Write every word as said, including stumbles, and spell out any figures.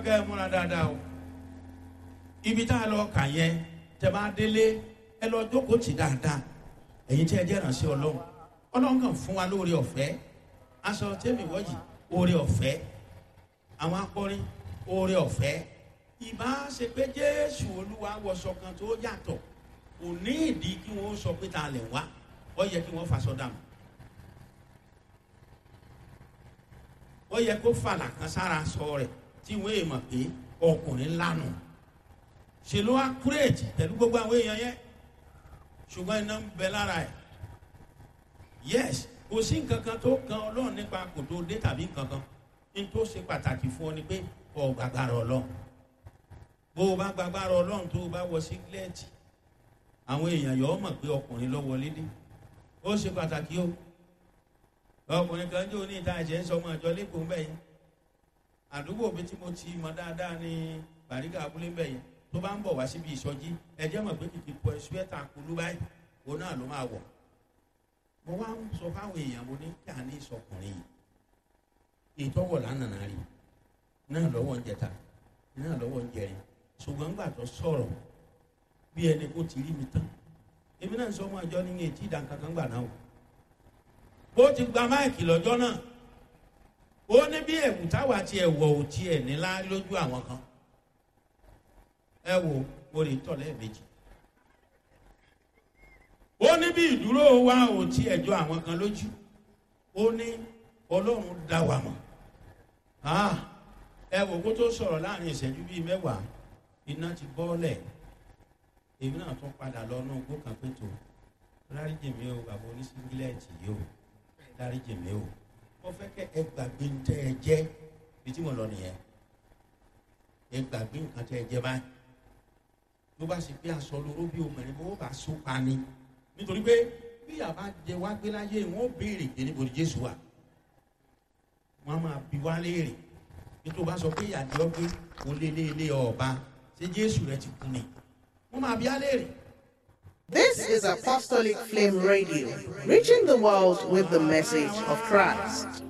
kẹ́ ẹ múra dáadáa o. Ibi tá a lọ kà yẹn, tẹ́ bá délé, ẹ lọ jókòó tì dáadáa. Ẹ̀yin tí ẹ jẹ́ ìrànṣẹ́ Ọlọ́run, Ọlọ́run kàn fún wa lóore ọ̀fẹ́. Aṣọ tẹ́mi wọ́jì, oore ọ̀fẹ́. Àwọn akọrin, oore ọ̀fẹ́. Ìbá ṣe pé Jésù Olúwa wọṣọ kan tó yàtọ̀, kò ní ìdí kí wọ́n sọ pé ta lẹ̀ wá. Ó yẹ kí wọ́n faṣọ dànù, ó yẹ kó fàlà kan sára sọ rẹ̀ tí wọ́n èèmọ̀ pé ọkùnrin ńlá nù. Ṣe ló wá kúrèjì pẹ̀lú gbogbo àwọn èèyàn yẹn? Ṣùgbọ́n iná ń bẹ lára ẹ̀. Yes, kò sí nǹkan kan tó kan Ọlọ́run nípa kò tó dé tàbí nǹkan kan. Ní tó ṣe pàtàkì fún ọ ni pé ọ gbàgbára Ọlọ́run. Bó o bá gbàgbára Ọlọ́run, tó o bá wọ sígílẹ́ẹ̀tì, àwọn èèyàn yọ̀ ọ́ mọ̀ pé ọkùnrin ló wọlé dé. Ó ṣe pàtàkì o. Ọkùnrin kan jò ní ìta ẹ̀jẹ̀ ń sọ ọmọ àjọ lẹ́kọ̀ọ́ ń bẹ̀ yẹn. Àdúgbò mi tí mo ti mọ dáadáa ní Bàrígà abúlé ń bẹ̀ yẹn. Tó bá ń bọ̀ wá síbi ìsọjí, ẹ̀jẹ̀ mọ̀ pé kìkì pọ̀ ṣúẹ́tà kulú báyìí, òun náà ló máa wọ̀. Mo wá ń sọ fáwọn èèyàn, mo ní kí a ní ìsọkùnrin yìí. Ìtọ́wọ̀ lánàá rí náà lọ́wọ́ ń jẹta, náà lọ́wọ́ ń jẹrin. Ṣùgbọ́n gbà tó sọ̀rọ̀, bí ẹni kó ti rí mi tán. Èmi náà ń sọ ọmọ àjọ ní etí ìdánkankan gbà náà o. Ó ti gba máìkì lọ́jọ́ náà. Ó ní bí ẹ̀wù táwa ti ẹ̀wọ̀ ò tiẹ̀ nílá lójú àwọn kan. Ẹ wo, mo lè tọ̀ lẹ́ẹ̀mejì. Ó ní bí ìdúró wa ò tiẹ̀ jọ àwọn kan lójú. Ó ní Ọlọ́run dá wa mọ̀. Ah, ẹ wo, kó tó sọ̀rọ̀, láàrin ìṣẹ́jú bíi mẹ́wàá, iná ti bọ́ọ̀lẹ̀. Èmi náà tún padà lọ náà gbó kan pé tó dáríjì mi o, bàbá oníṣíngílẹ̀tì yìí o, dáríjì mi o. Mo fẹ́ kẹ́ ẹ gbàgbé ń tẹ́ ẹ jẹ́. Bí tí mo lọ nìyẹn, ẹ gbàgbé nǹkan tẹ́ ẹ jẹ́ báyìí. Ló bá sì pé aṣọ lóró bí obìnrin bó bá so pa ni, nítorí pé bí yàrá jẹ wá gbé láyé, wọn ó béèrè pé níbo ni Jésù wà. Wọn á máa bi wá léèrè bí tó bá sọ pé ìyàdí ọgbẹ kò lé lé lé ọba. Ṣé Jésù rẹ ti kú ni? Wọn máa bi á léèrè. This is Apostolic Flame Radio, reaching the world with the message of Christ.